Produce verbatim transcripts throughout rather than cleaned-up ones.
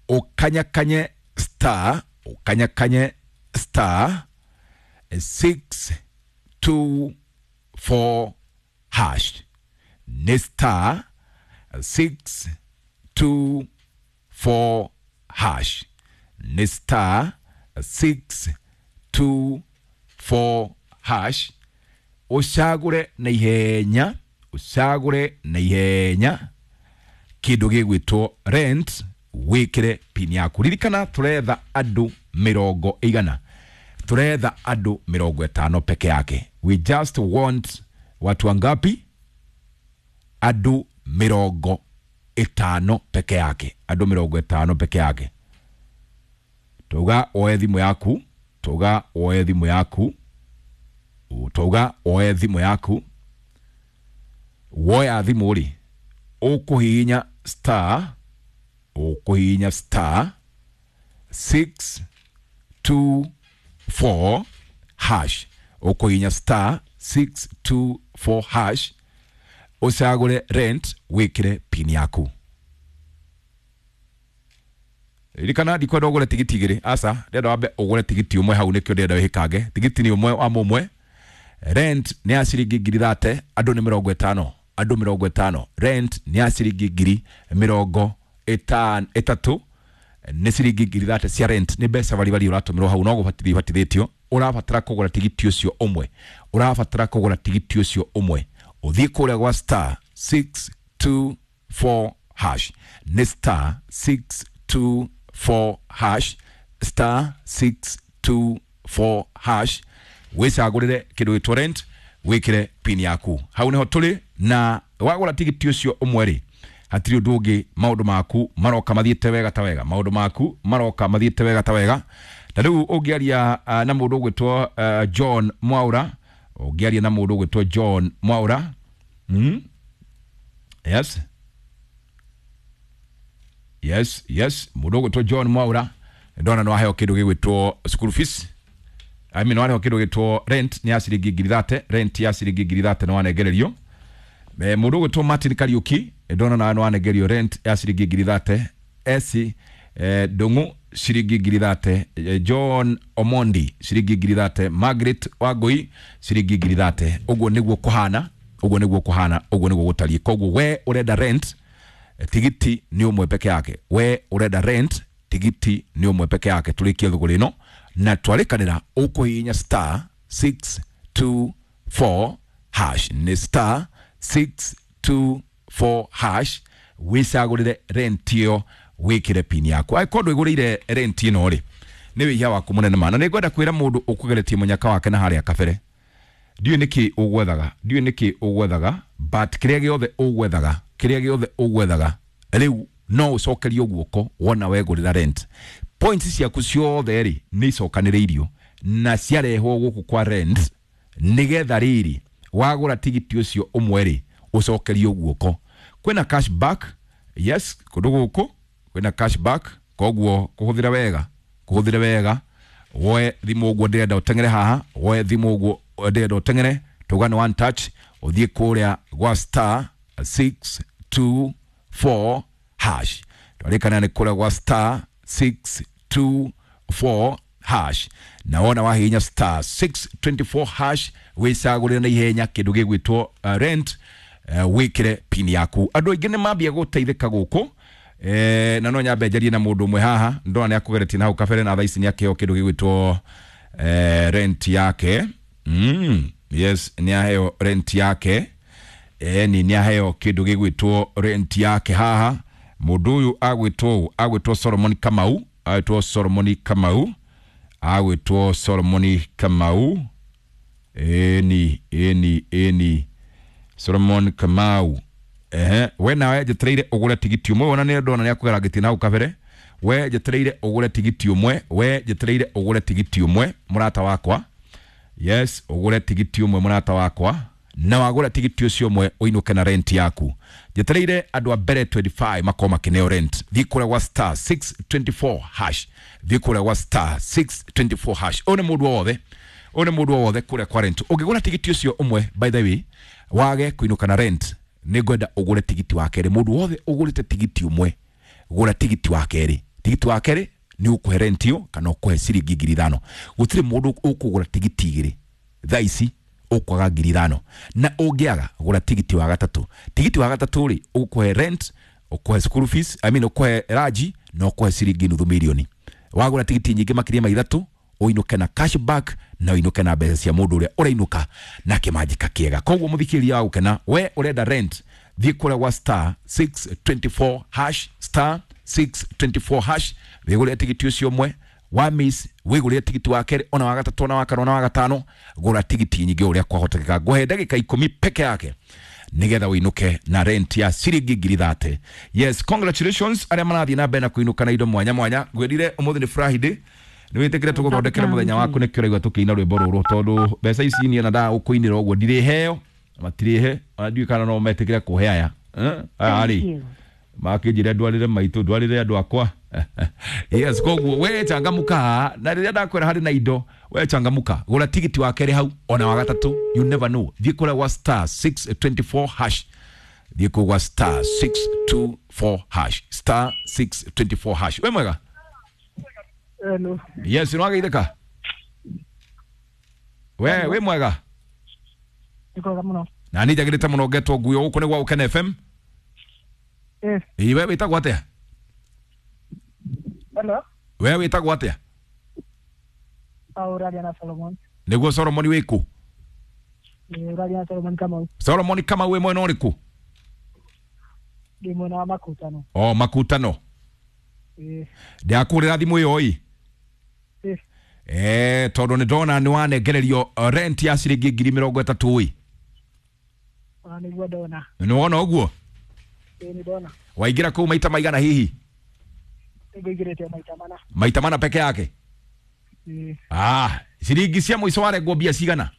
Ũkanyakanye star, ũkanyakanye star six two four hash, nĩ star six two four hash, nĩ star six two four hash. Ũcagũre na ihenya, ũcagũre na ihenya kĩndũ gĩgwĩtwo rent, wĩkĩre pin yaku. Ririkana tũretha andũ mĩrongo ĩigana? Tũretha andũ mĩrongo ĩtano peke yake. We just want watu wangapi? Andũ mĩrongo ĩtano peke yake, andũ mĩrongo ĩtano peke yake. Tuga oe thimũ yaku, tuga oe thimũ yaku, tuga oe thimũ yaku. Woya thimũ rĩ, ũkũhihinya star, ũkũhihinya star six two four hash, ũkũhihinya star six two four hash, ũcagũre rent, wĩkĩre pin yaku. Ririkana ndikwenda ũgũre tigiti igĩrĩ, aca, ndĩrenda wambe ũgũre tigiti ũmwe hau, nĩkĩo ndĩrenda wĩhĩkange. Tigiti nĩ ũmwe wa mũmwe. Rent nĩ ya ciringi ngiri thate, andũ nĩ mĩrongo ĩtano, andũ mĩrongo ĩtano. Rent nĩ ya ciringi ngiri mĩrongo ĩtatũ, nĩ ciringi ngiri thate cia rent. Nĩ mbeca baribari ũratũmĩrwo hau, no gũbatithio ũbatithĩtio. Ũrabatara kũgũra tigiti ũcio ũmwe, ũrabatara kũgũra tigiti ũcio ũmwe, ũthiĩ kũrĩa gwa star six two four hash, nĩ star six two four hash, star six two four hash, wĩcagũrĩre kĩndũ gĩtwo rent, wĩkĩre pin yaku. Hau nĩho tũrĩ. Na wagũra tigiti ũcio ũmwe rĩ, hatirĩ ũndũ ũngĩ, maũndũ maku maroka mathiĩte wega ta wega, maũndũ maku maroka mathiĩte wega ta wega. Na rĩu ũngĩaria uh, na mũndũ ũgwĩtwo uh, John Mwaura, ũngĩaria na mũndũ ũgwĩtwo John Mwaura, mm? Yes, yes, yes, mũndũ ũgwĩtwo John Mwaura, ndona nĩ waheo kĩndũ gĩgwĩtwo school fees, I mean, waheo kĩndũ gĩtwo rent, nĩ ya ciringi ngiri thate. Rent ya ciringi ngiri thate nĩ wanengererio. Mũndũ ũgwĩtwo Martin Kariuki, ndona nawe nĩ wanengerio rent ya ciringi ngiri thate. Esi eh, Ndung'u, ciringi ngiri thate. John Omondi, ciringi ngiri thate. Margaret Wangui, ciringi ngiri thate. Ũguo nĩguo kũhana, ũguo nĩguo kũhana, ũguo nĩguo gũtariĩ. Koguo we ũrenda rent, tigiti nĩ ũmwe peke yake. We ũrenda rent, tigiti nĩ ũmwe peke yake. Tũrĩkie thũgũrĩ ĩno na twarĩkanĩra, ũkũhihinya star six two four hash, nĩ star six two four hash, wĩcagũrĩre rent ĩyo, wĩkĩre pin yaku. Angĩkorwo ndwĩgũrĩire rent ĩno rĩ, nĩ wĩhia waku mũnene ma. Na nĩ ngwenda kwĩra mũndũ ũkũgeretie mũnyaka wake na harĩa kabere, ndiũĩ nĩkĩ ũgwethaga, ndiũĩ nĩkĩ ũgwethaga, but kĩrĩa gĩothe ũgwethaga, kĩrĩa gĩothe ũgwethaga rĩu no ũcokerio guoko wona wegũrĩra rent. Points ciaku ciothe rĩ, nĩ icokanĩrĩirio na ciarehwo gũkũ kwa rent, nĩgetha rĩrĩ wagũra tigiti ũcio ũmwe rĩ, ũcokerio guoko. Kwĩna cashback, yes, kũndũ gũkũ kwĩna cashback. Koguo kũhũthĩra wega, kũhũthĩra wega. Woe thimũ ũguo ndĩrenda ũteng'ere haha, woe thimũ ũguo ndĩrenda ũteng'ere, tuga nĩ one touch, ũthiĩ kũrĩa gwa star six two four hash. Twarĩkana nĩ kũrĩa gwa star six two four hash, na wona wahihinya star six twenty four hash, wĩcagũrĩre na ihenya kĩndũ gĩgwĩtwo uh, rent, uh, wĩkĩre pin yaku. Andũ aingĩ nĩ mambia gũteithĩka gũkũ. Eh, na no nyambe njarie na mũndũ ũmwe haha, ndona nĩ akũgeretie na hau kabere, na thaa ici nĩ akĩheo kĩndũ gĩgwĩtwo eh, rent yake. mm, yes, nĩ aheo rent yake. Eh, ni nĩ aheo kĩndũ gĩgwĩtwo rent yake haha. Mũndũ ũyũ agwĩtwo agwĩtwo Solomon Kamau, agwĩtwo Solomon Kamau, agwĩtwo Solomon Kamau. Eni, eni, eni, Solomon Kamau. Ehe, we nawe njetereire ũgũre tigiti ũmwe. Wona nĩ ndona nĩ akũgera ngĩti na hau kabere. We njetereire ũgũre tigiti ũmwe, we njetereire ũgũre tigiti ũmwe, mũrata wakwa. Yes, ũgũre tigiti ũmwe, mũrata wakwa, na wagũra tigiti ũcio ũmwe ũinũke na rent yaku. Njetereire andũ a mbere twenty five makorwo makĩneo rent. Thiĩ kũrĩa gwa star six twenty four hash, thiĩ kũrĩa gwa star six twenty four hash. Ũyũ nĩ mũndũ o wothe, ũyũ nĩ mũndũ o wothe kũrĩa kwa rent. Ũngĩgũra tigiti ũcio ũmwe, by the way, wage kũinũka na rent, nĩ ngwenda ũgũre tigiti wa kerĩ. Mũndũ wothe ũgũrĩte tigiti ũmwe, gũra tigiti wa kerĩ. Tigiti wa kerĩ nĩ ũkũhe rent ĩyo kana ũkũhe ciringi ngiri ithano. Gũtirĩ mũndũ ũkũgũra tigiti igĩrĩ thaa ici ũkwaga ngiri ithano, na ũngĩaga gũra tigiti wa gatatũ. Tigiti wa gatatũ rĩ, ũkũhe rent, ũkũhe school fees, I mean ũkũhe raji na ũkũhe ciringi nuthu milioni. Wagũra tigiti nyingĩ makĩria ma ithatũ, ũinũke na cash back na ũinũke na mbeca cia mũndũ ũrĩa ũrainũka na kĩmanjĩka kĩega. Koguo mũthikĩrĩria wa gũkena, we ũrenda rent, thiĩ kũrĩa gwa star six twenty four hash, star six twenty four hash, wĩgũrĩre tigiti ũcio ũmwe wa miss, wĩgũrĩre tigiti wa kerĩ, ona wa gatatũ, ona wa kana, ona wa gatano. Gũra tigiti nyingĩ ũrĩa kwahotekeka. Ngũhe ndagĩka ikũmi peke yake nigetha ũinũke na rent ya ciringi ngiri thate. Yes, congratulations arĩa marathiĩ na mbere na kũinũka na indo mwanya mwanya. Ngwĩrire ũmũthĩ nĩ Friday, nĩ wĩtĩkĩre tũgũthondekere mũthenya waku, nĩkĩo ũraigua tũkĩina rwĩmbo rũrũ, tondũ mbeca ici niĩ na ndagũkũinĩra ũguo ndirĩheo, matirĩhe, ona ndiũĩ kana no metĩkĩre kũhe aya. Eh, aya rĩ makĩnjĩra ndwarĩre maitũ, ndwarĩre andũ akwa. Yes, koguo we changamuka, na rĩrĩa ndakwĩra harĩ na indo, we changamuka, gũra tigiti wa kerĩ hau ona wa gatatũ, you never know. Thiĩ kũrĩa gwa star six twenty four hash, thiĩ kũu gwa star six two four hash, star six twenty four hash. We mwega? Hello. Yes, nĩ wageithĩka? We wĩ mwega? Nĩ kwega mũno. Na niĩ njagĩrĩte mũno ngetwo nguo gũkũ nĩ gwa Gũkena F M. Eh. Ĩ, we wĩtagwo atĩa? Hello. We wĩtagwo atĩa? Ah, ũraria na Solomon. Nĩguo Solomon wĩ kũ? Ĩ, ũraria na Solomon Kamau. Solomon Kamau wĩ mwena ũrĩkũ? Ndĩ mwena wa Makutano. Oh, Makutano. Ĩ. Ndakũhũrĩra thimũ ĩyo ĩ? Ĩ. Eh, tondũ nĩ ndona nĩ wanengererio rent ya ciringi ngiri mĩrongo ĩtatũ ĩ. Ona nĩguo ndona. Nĩ wona ũguo? Ĩ, nĩ ndona. Waingĩra kũu maita maigana hihi? Nĩngũingĩrĩte maita mana. Maita mana peke yake? Ĩ. Ah, ciringi cia mũico warengwo mbia cigana?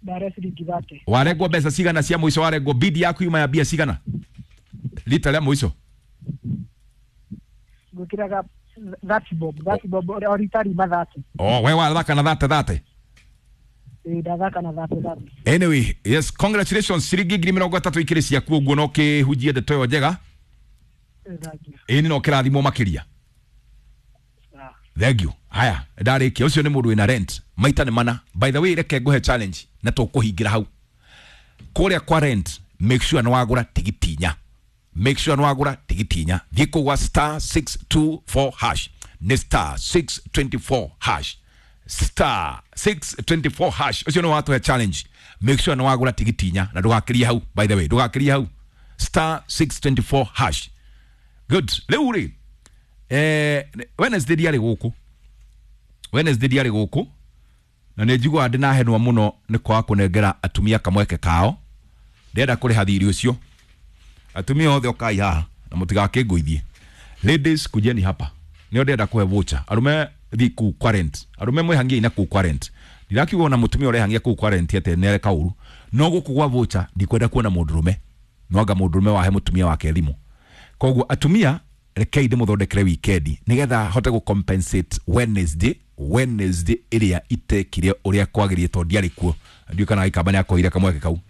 Ndare ciringi thate. Warengwo mbeca cigana cia mũico warengwo bid yaku yuma ya mbia cigana? Rita rĩa mũico? Ngwĩkĩraga thirty bob, thirty bob, o rita rima thirty. Oh, we wathaka na thate thate? Ĩ, ndathaka na thate thate. Anyway, yes, congratulations, ciringi ngiri mĩrongo ĩtatũ ikĩrĩ ciaku ũguo no kĩhunjie ndeto ĩyo njega. Thank you. Ĩni no kĩrathimwo makĩria. Ah. Thank you. Haya, ndarĩkia. Ũcio nĩ mũndũ wĩna rent maita nĩ mana. By the way, reke ngũhe challenge na tũkũhingĩra hau kũrĩa kwa rent. Make sure nĩ wagũra tigiti inya. Make sure nĩ wagũra tigiti inya. Thiĩ kũu gwa star six two four hash, nĩ star six twenty four hash, star six twenty four hash. Ũcio nĩ watũhe challenge. Make sure nĩ wagũra tigiti inya na ndũgakĩrie hau. By the way, ndũgakĩrie hau, star six twenty four hash. Good. Rĩu rĩ, eh, Wednesday ndiarĩ gũkũ, Wednesday ndiarĩ gũkũ, na nĩ njiguaga ndĩnahenwo mũno nĩ kwaga kũnengera atumia kamweke kao. Ndĩrenda kũrĩha thirĩ ũcio. Atumia othe ũkai haha na mũtigakĩngũithie. Ladies, kujeni hapa, nĩo ndĩrenda kũhe voucher. Arũme thiĩ kũu kwa rent, arũme mwĩhangiei na kũu kwa rent. Ndirakiuga ona mũtumia ũrehangia kũu kwa rent atĩ nĩareka ũru, no gũkũ gwa voucher ndikwenda kuona mũndũrũme, no anga mũndũrũme wahe mũtumia wake thimũ. Koguo atumia, rekei ndĩmũthondekere weekend nĩgetha hote gũ compensate Wednesday, Wednesday ĩrĩa itekire ũrĩa kwagĩrĩire tondũ ndiarĩ kuo. Ndiũĩ kana Gĩkamba nĩakoire kamweke kau.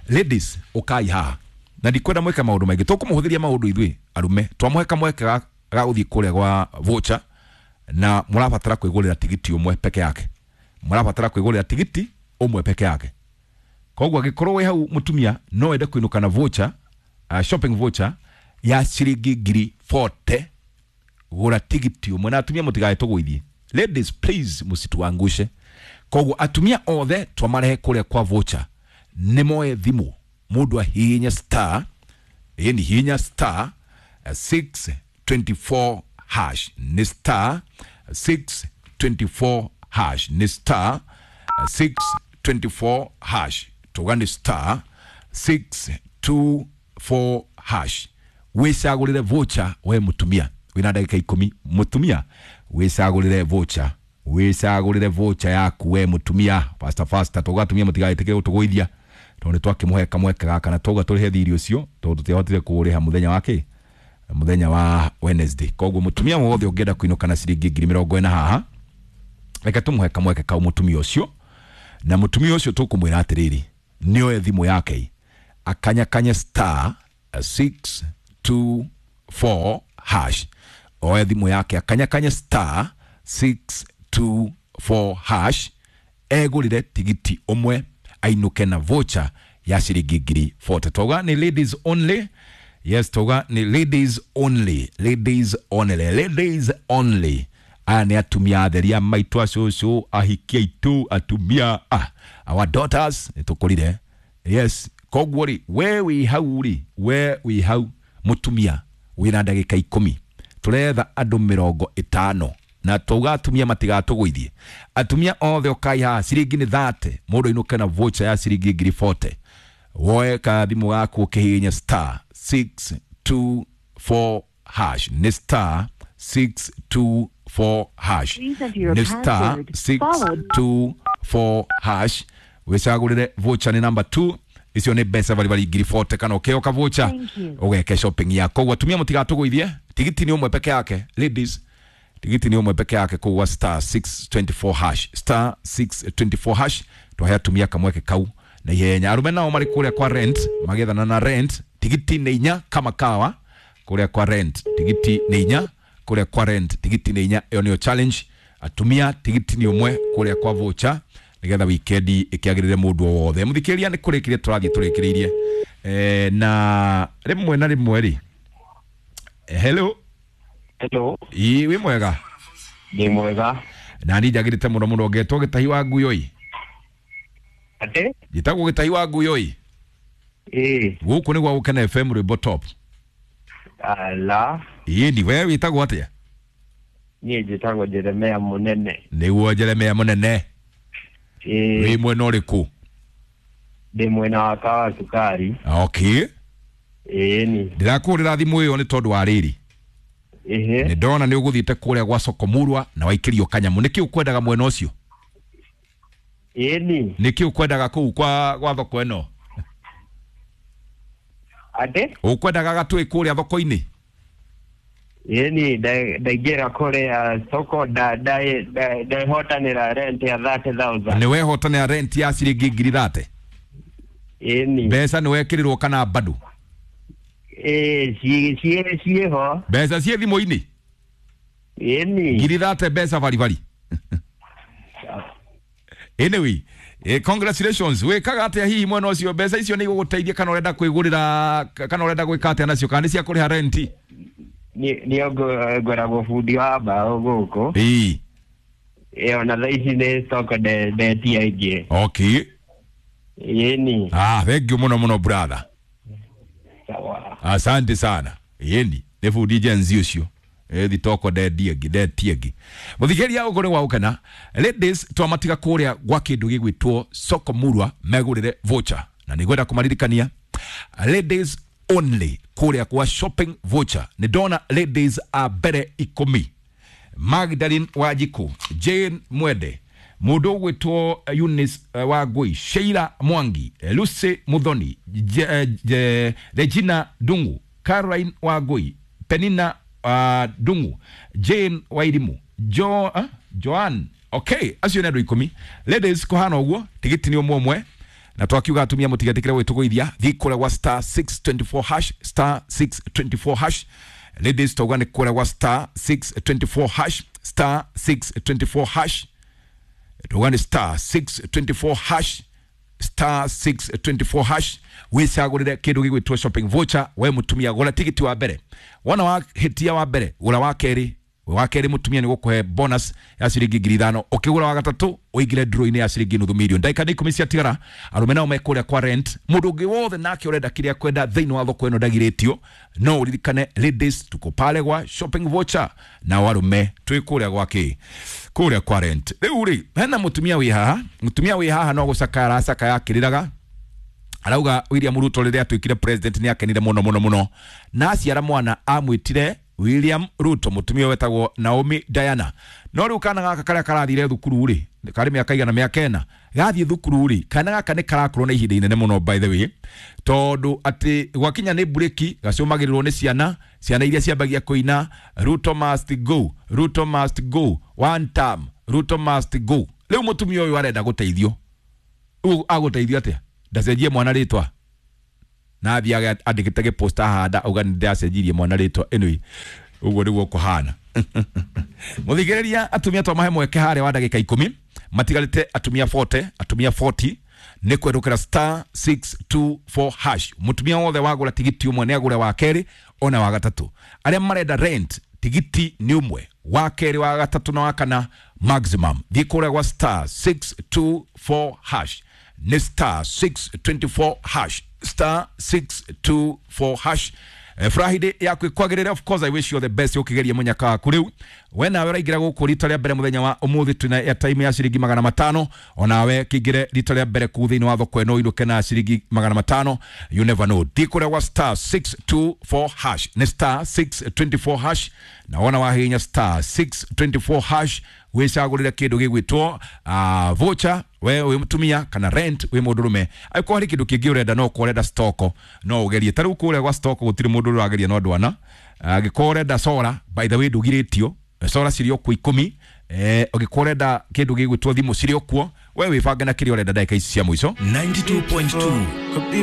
Ladies, ũkai haha na ndikwenda mwĩke maũndũ maingĩ, tũkũmũhũthĩria maũndũ ithuĩ arũme. Twamũhe kamweke ga, ga gũthiĩ kũrĩa gwa voucher, na mũrabatara kwĩgũrĩra tigiti ũmwe peke yake. Mũrabatara kwĩgũrĩra tigiti ũmwe peke yake. Koguo angĩkorwo wĩ hau mũtumia no wende kũinũka na voucher, uh, shopping voucher ya ciringi ngiri forty, gũra tigiti ũmwe. Na atumia mũtigae tũgũithie. Ladies, please, mũsituangushe. Koguo atumia othe twamarehe kũrĩa kwa voucher, nĩ moe thimũ, mũndũ ahihinye star, ĩni hihinya star six twenty four hash, nĩ star six twenty four hash, nĩ star six twenty four hash, tuga nĩ star six two four hash. Wĩcagũrĩre voucher we mũtumia wĩna ndagĩka ikũmi. Mũtumia wĩcagũrĩre voucher, wĩcagũrĩre voucher yaku we mũtumia. Faster faster, tuga atumia mũtigaĩtĩkĩre gũtũgũithia tondũ nĩ twakĩmũhe kamweke gaka na twauga tũrĩhe thirĩ ũcio tondũ tũtiahotire kũũrĩha mũthenya wa kĩ, mũthenya wa Wednesday. Koguo mũtumia wothe ũngĩenda kũinũka na ciringi ngiri mĩrongo ĩna haha, reke tũmũhe kamweke kau mũtumia ũcio. Na mũtumia ũcio tũkũmwĩra atĩrĩrĩ, nĩoe thimũ yake akanyakanye star six two four hash. Oe thimũ yake akanyakanya star six two four hash egũrĩre tigiti ũmwe ainũke na voucher ya ciringi ngiri forty. Tauga ni ladies only. Yes, tauga ni ladies only, ladies only, ladies only. Aya nĩ atumia atheria maitũ, acũcũ, ahiki aitũ, atumia, ah, our daughters nĩ tũkũrire. Yes, koguo rĩ, we wĩ hau rĩ, we wĩ hau mũtumia wĩna ndagĩka ikũmi, tũretha andũ mĩrongo ĩtano na twauga atumia matigatũgũithie. Atumia othe ũkai haha, ciringi nĩ thate, mũndũ ainũke na voucher ya ciringi ngiri forty. Woe kathimũ gaku ũkĩhihinya star six two four hash, nĩ star six two four hash, Please enter your nĩ star password, six followed two four hash wĩcagũrĩre voucher nĩ number two. Icio nĩ mbeca baribari ngiri forty kana ũkĩoka voucher Thank you. ũgeke shopping yako. Koguo atumia mũtigatũgũithie, tigiti nĩ ũmwe peke yake ladies, tigiti nĩ ũmwe peke yake kũu star six twenty four hash, star six twenty four hash. Twahe atumia kamweke kau na ihenya. Arume nao marĩ kũrĩa kwa rent magethana na rent, tigiti nĩ inya kama kawa kũrĩa kwa rent, tigiti nĩ inya kũrĩa kwa rent, tigiti nĩ inya. Ĩyo nĩyo challenge. Atumia tigiti nĩ ũmwe kũrĩa kwa voucher nigetha wikendi ĩkĩagĩrĩre mũndũ o wothe. Mũthikĩrĩria nĩ kũrĩkĩria tũrathiĩ tũrĩkĩrĩirie eh, na rĩmwe na rĩmwe rĩ. Hello. Hello, ĩ wĩ mwega? ndĩ mwega. Na niĩ njagĩrĩte mũno mũno, ngetwo Gĩtahi wa Nguyoi. Atĩ? Njĩtagwo Gĩtahi wa Nguyoi. Ĩĩ, gũkũ nĩ gwa Gũkena F M rwĩmbo top. Ala, ĩni we wĩtagwo atĩa? Niĩ njĩtagwo Jeremia Mũnene. Nĩguo Jeremia Mũnene. Ĩĩ, wĩ mwena ũrĩkũ? Ndĩ mwena wa Kawa Cukari. Okay. Ĩĩ ni. Ndĩrakũhũrĩra thimũ ĩyo nĩ tondũ wa rĩrĩ. Ĩhĩ. Nĩ ndona nĩ ũgũthiĩte kũrĩa gwa soko Murwa na waikĩrio kanyamũ. Nĩkĩ ũkwendaga mwena ũcio? Ĩĩ ni. Nĩkĩ ũkwendaga kũu kwa gwa thoko ĩno? Atĩ? Ũkwendaga gatũĩ kũrĩa thoko-inĩ? Ĩĩ ni, ndaingĩra kũrĩa soko nda ndehotanĩra rent ya thirty thousand. Nĩ wehotanĩra rent ya ciringi ngiri thate? Ĩĩ ni. Mbeca nĩ wekĩrĩrwo kana bado? Ĩĩ, ciĩ ciĩ ciĩho. Mbeca ciĩ thimũ-inĩ? Ĩĩ ni. Ngiri thate mbeca baribari. Anyway, eh, congratulations. Wĩkaga atĩa hihi mwena ũcio? Mbeca icio nĩ igũgũteithia kana ũrenda kwĩgũrĩra, kana ũrenda gwĩka atĩa nacio, kana nĩ cia kũrĩha rent? Niĩ ngoragwo bundi wa mbaũ gũkũ. Ĩĩ. Ĩĩ, ona thaa ici nĩ soko ndetia ingĩ. Okay. Ĩĩ ni. Ah, thank you mũno mũno brother. Sawa. Asante sana. Ĩĩ nĩ bundi Gen Z ũcio. Ĩthi toko ndendia ĩngĩ, ndetie ĩngĩ. Mũthikĩrĩria ũguo nĩ wa gũkena. Ladies, twamatiga kũrĩa gwa kĩndũ gĩgwĩtwo soko Murwa megũrĩre voucher. Na nĩngwenda kũmaririkania ladies only kũrĩa kwa shopping voucher. Nĩ ndona ladies a mbere ikũmi. Magdalene Wanjikũ, Jane Mwende, mũndũ ũgwĩtwo Eunice uh, Wangui, Sheila Mwangi, Lucy Muthoni, Je, Je, Regina Dungu, Caroline Wangui, Penina uh, Dungu, Jane Wairimu, Jo, uh, Joan. Okay, acio nĩ andũ ikũmi. Ladies, kũhana ũguo, tigiti nĩ ũmwe ũmwe. Na twakiuga atumia mũtigetĩkĩre gwĩtũgũithia, thiĩ kũrĩa gwa star six twenty four hash, star six twenty four hash. Ladies, twauga nĩ kũrĩa gwa star six twenty four hash, star six twenty four hash. Twauga nĩ star six twenty four hash, star six twenty four hash. Wĩcagũrĩre kĩndũ gĩgwĩtwo shopping voucher. We mũtumia gũra tigiti wa mbere, wona wa hĩtia wa mbere gũra wa kerĩ, wa kerĩ mũtumia nĩ gũkũhe bonus ya ciringi ngiri ithano, ũkĩgũra wa gatatũ ũingĩre draw-inĩ ya ciringi nuthu milioni. Ndagĩka nĩ ikũmi ciatigara, arũme nao me kũrĩa kwa rent. Mũndũ ũngĩ wothe nake ũrenda kĩrĩa kwenda thĩinĩ wa thoko ĩno ndagirĩtio. No ũririkane ladies tuko pale gwa shopping voucher, na arũme twĩ kũrĩa gwa kĩ, kũrĩa kwa rent. Rĩu rĩ, hena mũtumia wĩ haha, mũtumia wĩ haha no gũcakaya aracakaya akĩrĩraga. Arauga William Ruto rĩrĩa atuĩkire president nĩ akenire mũno mũno mũno, na aciara mwana amwĩtire William Ruto, mũtumia wetagwo Naomi Diana. No rĩu kana gaka karĩa karathire thukuru rĩ, karĩ mĩaka igana mĩaka ĩna gathiĩ thukuru rĩ, kana gaka nĩ karakorwo na ihinda inene mũno by the way, tondũ atĩ gwakinya nĩ breki gacũmagĩrĩrwo nĩ ciana, ciana iria ciambagia kũina Ruto must go, Ruto must go, one term, Ruto must go. Rĩu mũtumia ũyũ arenda gũteithio. Rĩu agũteithio atĩa? Ndacenjie mwana rĩtwa na athiage andĩkĩte gĩposta handa auga nĩ ndĩracenjirie mwana rĩtwa. Anyway, Ũguo nĩguo kũhana. Mũthikĩrĩria, atumia twamahe mweke harĩa wa ndagĩka ikũmi matigarĩte, atumia mĩrongo ĩna, atumia mĩrongo ĩna nĩ kwendũkĩra star six two four hash. Mũtumia wothe wagũra tigiti ũmwe nĩ agũre wa kerĩ ona wa gatatũ. Arĩa marenda rent, tigiti nĩ ũmwe, wa kerĩ, wa gatatũ na wa kana maximum. Thiĩ kũrĩa gwa star six two four hash, nĩ star six two four hash, star six two four hash. Eh, Friday yaku ikwagĩrĩre. Of course I wish you all the best ũkĩgeria mũnyaka waku. Rĩu we nawe ũraingĩra gũkũ rita rĩa mbere mũthenya wa ũmũthĩ, twĩna airtime ya ciringi magana matano. Onawe kĩingĩre rita rĩa mbere kuu thĩinĩ wa thoko ĩno, ũinũke na ciringi magana matano. You never know. Thiĩ kũrĩa gwa star six two four hash, nĩ star six two four hash, na wona wahihinya star six two four hash wĩcagũrĩre kĩndũ gĩgwĩtwo uh, voucher we wĩ mũtumia kana rent wĩ mũndũrũme. Angĩkorwo harĩ kĩndũ kĩngĩ ũrenda, no ũkorwo ũrenda stoko, no ũgerie. Ta rĩu kũrĩa gwa stoko gũtirĩ mũndũ ũrageria no ndwana. Angĩkorwo ũrenda sora, by the way, ndũgirĩtio, sora cirĩ o kuo ikũmi. eh, ũngĩkorwo ũrenda kĩndũ gĩgwĩtwo thimũ, cirĩ o kuo. We wĩbange na kĩrĩa ũrenda ndagĩka ici cia mũico. ninety-two point two.